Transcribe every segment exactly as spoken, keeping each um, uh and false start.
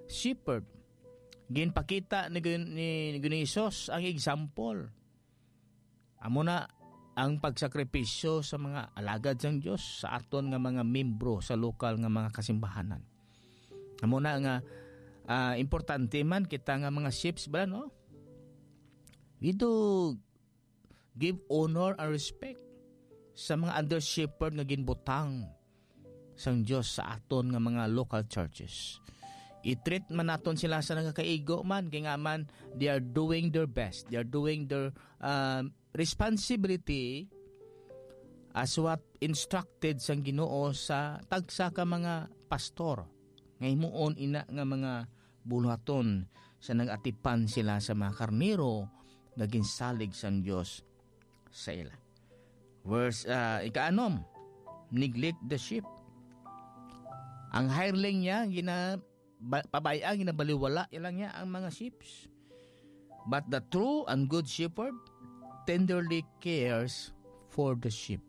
shepherd. Ginpakita ni Gin-, ni, ni Ginoong Hesus ang example. Amo na ang pagsakripisyo sa mga alagad sang Dios, sa aton nga mga membro sa lokal nga mga kasimbahanan. Amo na nga, ah, importante man kita nga mga sheeps ba, no? We do give honor and respect sa mga under shepherd nga ginbutang sang Dios sa aton nga mga local churches. I-treat man naton sila sa nagakaigo man, kay nga man, they are doing their best. They are doing their, um, responsibility as what instructed sang Ginoo sa tagsa ka mga pastor, nga himuon ina nga mga buluhaton sa nag-atipan sila sa mga karnero nga ginsalig sang Dios sa ila. Verse, ah, ikaanom, neglect the sheep. Ang hireling niya, gina-, ba-, pabay-a, ginabaliwala lang niya ang mga sheep. But the true and good shepherd tenderly cares for the sheep.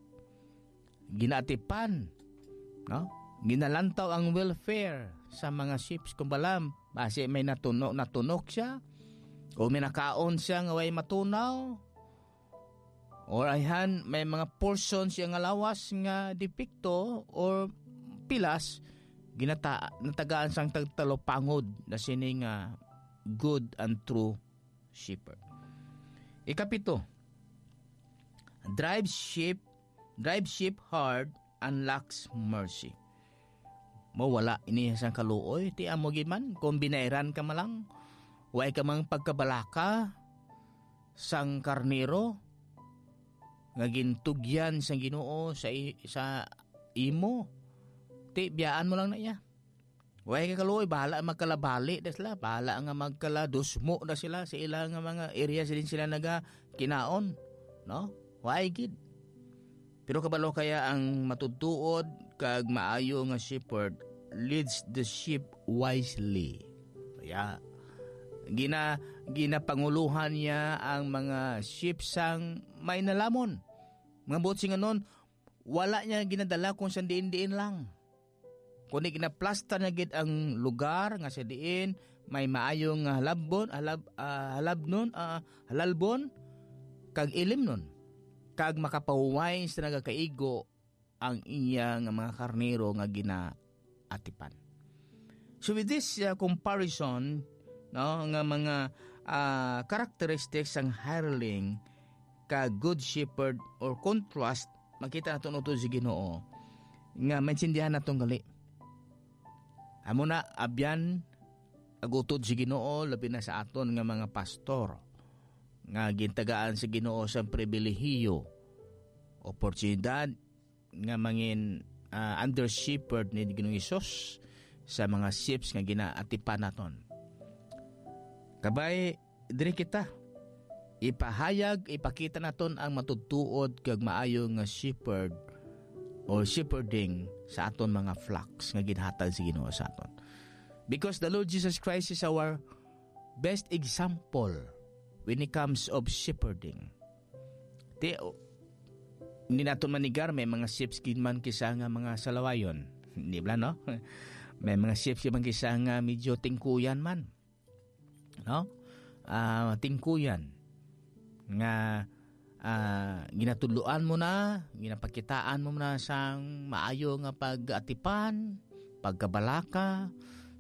Ginaatipan, no? Ginalantaw ang welfare sa mga sheep. Kung bala, basi may natuno-, natunok siya, o may nakaon siya nga way matunaw, or ayhan, may mga portion siya nga lawas nga depekto or pilas, ginata-, natagaan sang tagtalupangod na sini nga good and true shepherd. Ikapito, drive sheep, drive sheep hard and lacks mercy. Mawala ini sang kaluoy, ti amo gid man, kung binayran ka man lang, way ka mang pagkabalaka sang karnero nga gintugyan sang Ginoo sa i-, sa imo, ti biyaan mo lang na iya. Way ka kaluoy, bahala magkalabali na sila, bahala nga magkaladusmo na sila sa ila nga mga area sa din sila naga kinaon, no? Way gid. Pero kabalo kaya ang matutuod kag maayo nga shepherd leads the sheep wisely. Kaya gina-, ginapanguluhan niya ang mga sheep sang may nalamon. Mga buot singanon, wala niya ginadala kung san diin-diin lang. Kundi ginaplastar niya gid ang lugar nga sa diin may maayo nga halabon, halab-, ah, halabnon, ah, halalbon, kag ilimnon, kag makapahuway sa nagakaigo ang iya nga mga karnero nga ginaatipan. So with this, uh, comparison, no, nga mga, ah, characteristics sang hireling ka good shepherd or contrast, makita naton utod sa Ginoo nga maintindihan naton gali. Amo na, abyan ag utod sa Ginoo, labi na sa aton nga mga pastor nga gintagaan sa Ginoo sang pribilehiyo, oportunidad, nga mangin, ah, under shepherd ni Ginoong Hesus sa mga sheep nga ginaatipan naton. Kabay, diri kita. Ipahayag, ipakita naton ang matutuod kag maayo nga shepherd or shepherding sa aton mga flocks nga ginhatag sa Ginoo sa aton. Because the Lord Jesus Christ is our best example when it comes of shepherding. Ti, o, hindi naton manigar, may mga sheep gid man kisa nga mga salawayon. Di ba, no? May mga sheep gid man kisa nga medyo tingkuyan man. No? Ah, tingkuyan. Nga, ah, ginatudloan mo na, ginapakitaan mo na sang maayo nga pag-atipan, pagkabalaka,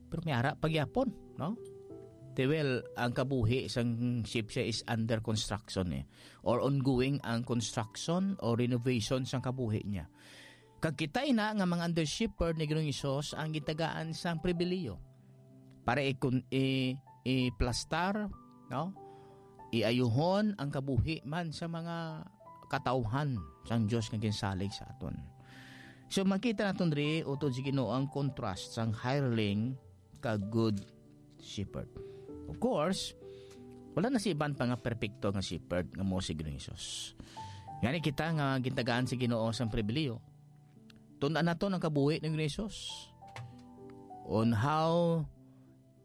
pero may ara pa gyapon, no? Ti, well, ang kabuhi sang sheep siya is under construction, eh, or ongoing ang construction or renovation sang kabuhi niya. Kag kita ina nga mga under shepherd ni Ginoong Hesus ang gitagaan sang pribiliyo para ikon-, i-, iplastar, no? Iayuhon ang kabuhi man sa mga katawhan sang Dios nga ginsalig sa aton. So, makita naton diri utod sa Ginoo ang contrast sang hireling kag good shepherd. Of course, wala na si iban pa nga perpekto nga shepherd nga mao si Ginoong Hesus. Ngani kita nga gintagaan sa Ginoo sang pribiliyo, tun-an naton ang kabuhi ni Ginoong Hesus on how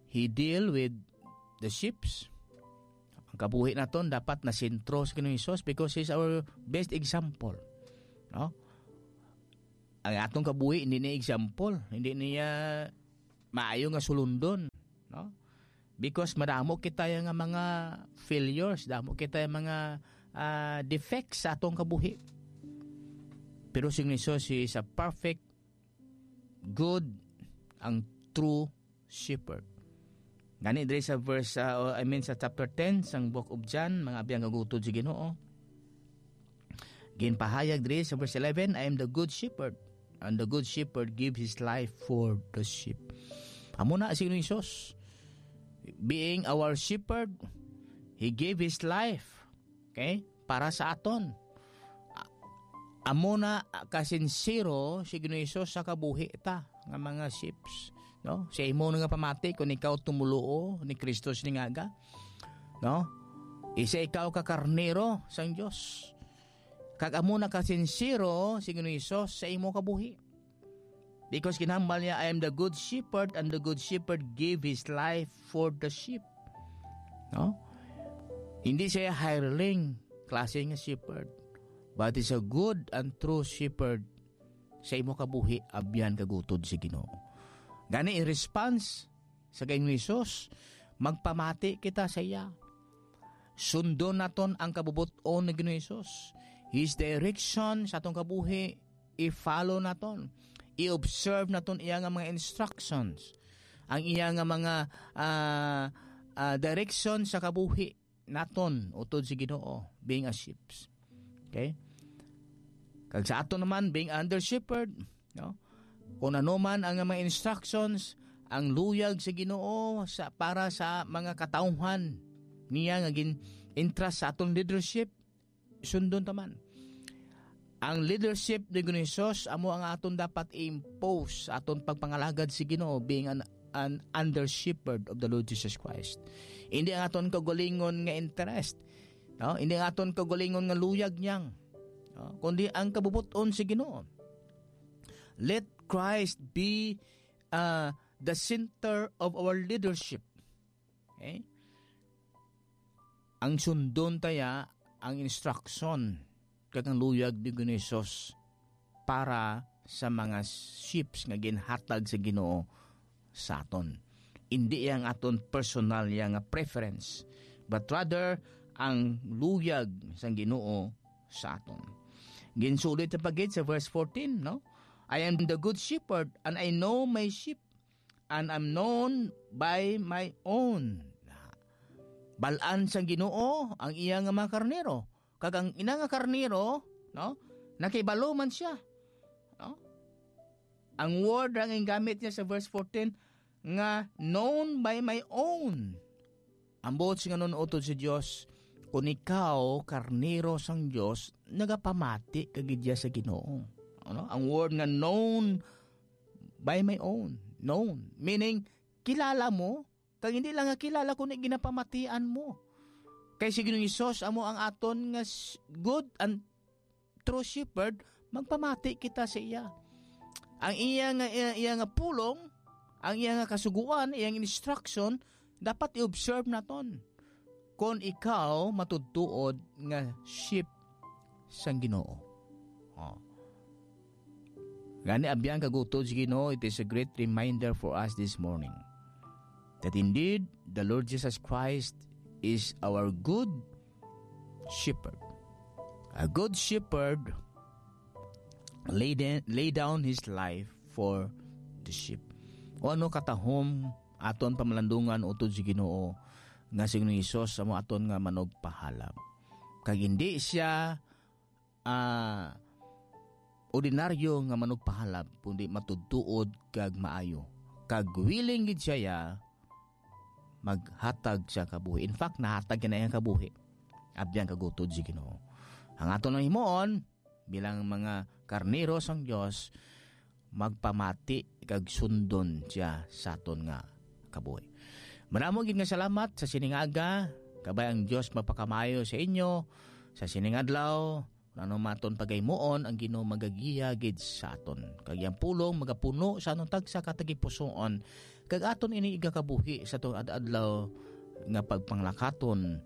he deal with the sheeps. Ang kabuhi naton dapat nasentro sa Ginoong Hesus because he's our best example. No? Ang atong kabuhi, hindi niya example, hindi niya maayo nga sulundon. no? Because madamo kita nga mga failures, damo kita nga mga, ah, defects sa atong kabuhi. Pero si Jesus, he is a perfect, good, ang true shepherd. Gani diri sa verse, ah, I mean sa chapter ten sang Book of John, mga abyan kag utod sa Ginoo. Ginpahayag diri sa verse eleven, "I am the good shepherd, and the good shepherd give his life for the sheep." Amo na si Jesus. Being our shepherd, he gave his life, okay, para sa aton. A-, amo na, ah, kasinsero si Ginoong Jesus sa kabuhi ta nga mga sheeps, no? Sa imo nga pamati, kung ikaw tumoluo ni Kristo sining aga, no? Isa ikaw ka karnero sang Dios. Kag amo na kasinsero si Ginoong Jesus sa imo kabuhi. Because ginhambal niya, "I am the good shepherd, and the good shepherd give his life for the sheep." No? Hindi siya hireling klase nga shepherd, but is a good and true shepherd sa imo kabuhi, abyan kag utod sa Ginoo. Gani, in response sa Ginoong Jesus, magpamati kita sa iya. Sundon naton ang kabubot-on ni Ginoong Jesus. His direction sa atong kabuhi, i-follow naton. I-observe naton iya nga mga instructions. Ang iya nga mga, ah, ah, direction sa kabuhi naton, utod sa Ginoo, being a sheep. Okay? Kag sa aton naman, being under shepherd, no? Kung ano man ang mga instructions, ang luyag sa Ginoo sa, para sa mga katawhan niya nga gin-entrust sa aton leadership, sundon ta man. Ang leadership ni Ginoong Jesus amo ang aton dapat i-impose sa aton pagpangalagad sa Ginoo, being an, an under shepherd of the Lord Jesus Christ. Hindi ang aton kaugalingon nga interest, no? Hindi ang aton kaugalingon nga luyag niyang, no? Kundi ang kabubot-on sa Ginoo. Let Christ be, uh, the center of our leadership. Okay? Ang sundon taya ang instruction kag ang luyag ni Ginoong Jesus para sa mga sheeps nga ginhatag sa Ginoo sa aton. Indi ang aton personal ya nga preference, but rather ang luyag sang Ginoo sa aton. Ginsulit pa gid sa verse fourteen, no? "I am the good shepherd, and I know my sheep, and am known by my own." Bal-an sang Ginoo ang iya nga mga karnero, kag ang ina nga karnero, no, nakibalo man siya, no? Ang word ang gingamit niya sa verse fourteen nga "known by my own." Ang buot silingon, utod sa Dios, kung ikaw karnero sang Dios, nagapamati ka gid sa Ginoo. Ano? Ang word nga "known by my own." Known. Meaning, kilala mo, kag hindi lang nga kilala, kundi ginapamatian mo. Kay si Ginoong Jesus amo ang aton nga s-, good and true shepherd, magpamati kita sa iya. Ang iya nga, iya, iya nga pulong, ang iya nga kasugoan, iyang instruction, dapat i-observe naton. Kon ikaw matudtuod nga sheep sang Ginoo. Oh. Gani, abyan kag utod sa Ginoo, it is a great reminder for us this morning that indeed, the Lord Jesus Christ is our good shepherd. A good shepherd lay, de- lay down his life for the sheep. O ano katahom aton pamalandungan utod sa Ginoo nga si Ginoong Hesus amo aton nga manugpahalap. Kag hindi siya, ah, ordinaryo nga manugpahalap, kundi matudtuod kag maayo. Kag willing gid siya maghatag sa kabuhi. In fact, nahatag niya na iyang kabuhi. Abyan kag utod si Ginoo. Ang aton lang himuon, bilang mga karnero sang Dios, magpamati kag sundon siya sa aton nga kabuhi. Madamo gid nga salamat sa sining aga. Kabay ang Dios magpakamaayo sa inyo sa sining adlaw. Ano man aton pagaymuon, ang Ginoo magagiya gid sa aton. Kag iyang pulong magapuno sa aton tagsa ka tagipusoon, kag aton ini igakabuhi sa aton ad-adlaw nga pagpanglakaton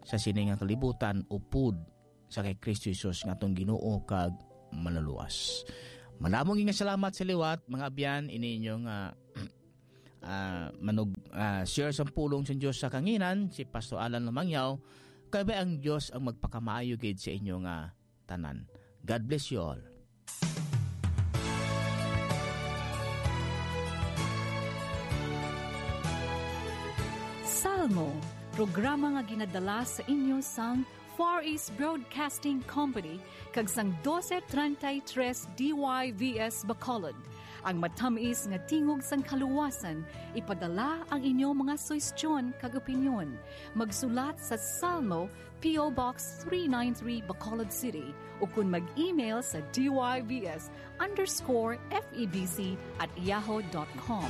sa sini nga kalibutan, upod sa kay Kristo Jesus nga aton Ginoo kag Manlulowas. Madamo gid nga salamat sa liwat, mga abyan, ini inyo nga ah, manug-, ah, share sang pulong sang Dios sa kanginan, si Pastor Alan Lumangyaw, kay ang Dios ang magpakamaayo gid sa inyo nga tanan. God bless you all. Salmo, programa nga ginadala sa inyo sang Far East Broadcasting Company kag sang doce treinta y tres D Y V S Bacolod. Ang matamis nga tingog sang kaluwasan, ipadala ang inyo mga suhestyon kag opinyon. Magsulat sa Salmo, P O Box three nine three, Bacolod City, ukon mag-email sa D Y V S underscore F E B C at yahoo dot com.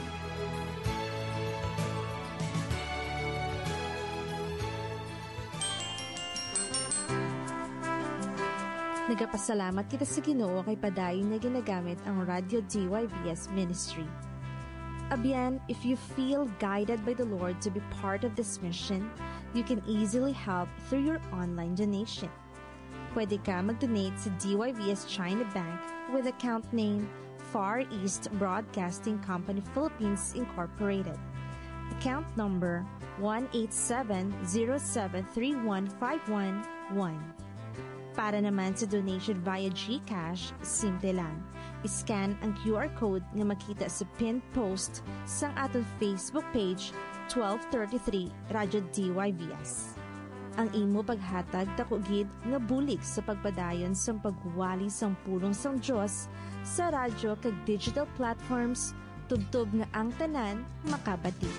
Nagapasalamat kita sa Ginoo kay padayon niya ginagamit ang Radyo D Y V S Ministry. Abyan, if you feel guided by the Lord to be part of this mission, you can easily help through your online donation. Pwede ka mag-donate sa D Y V S China Bank with account name Far East Broadcasting Company Philippines Incorporated. Account number one eight seven zero seven three one five one one. Para naman sa donation via GCash, simple lang. I-scan ang Q R code nga makita sa pinned post sang aton Facebook page, twelve thirty-three Radyo D Y V S. Ang imo paghatag daku gid nga bulig sa pagpadayon sang pagwali sang pulong sang Dios sa radyo kag digital platforms, tubtob nga ang tanan makabati.